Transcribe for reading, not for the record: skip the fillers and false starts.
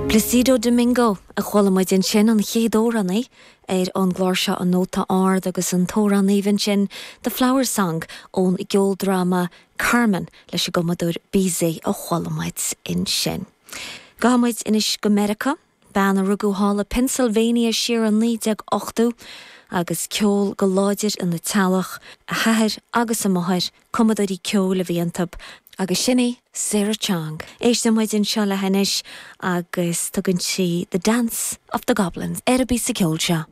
Plácido Domingo a chuala muid ansin, an chéad amhránaí ar an gclár seo An Nóta Ard agus an t-amhrán aoibhinn sin The Flower Song ón gceoldráma Carmen leis an gcumadóir Bizet a chuala muid ansin. Gabhfaidh muid anois go Meiriceá. Bean a rugadh thall i Pennsylvania siar i 1980 agus ceol go láidir ina teaghlach, a hathair agus a máthair, cumadóirí ceoil a bhí iontu, agus sin í Sarah Chang. Éisteann muid anseo léi anois agus tugann sí The Dance of the Goblins ar an bpíosa ceoil seo.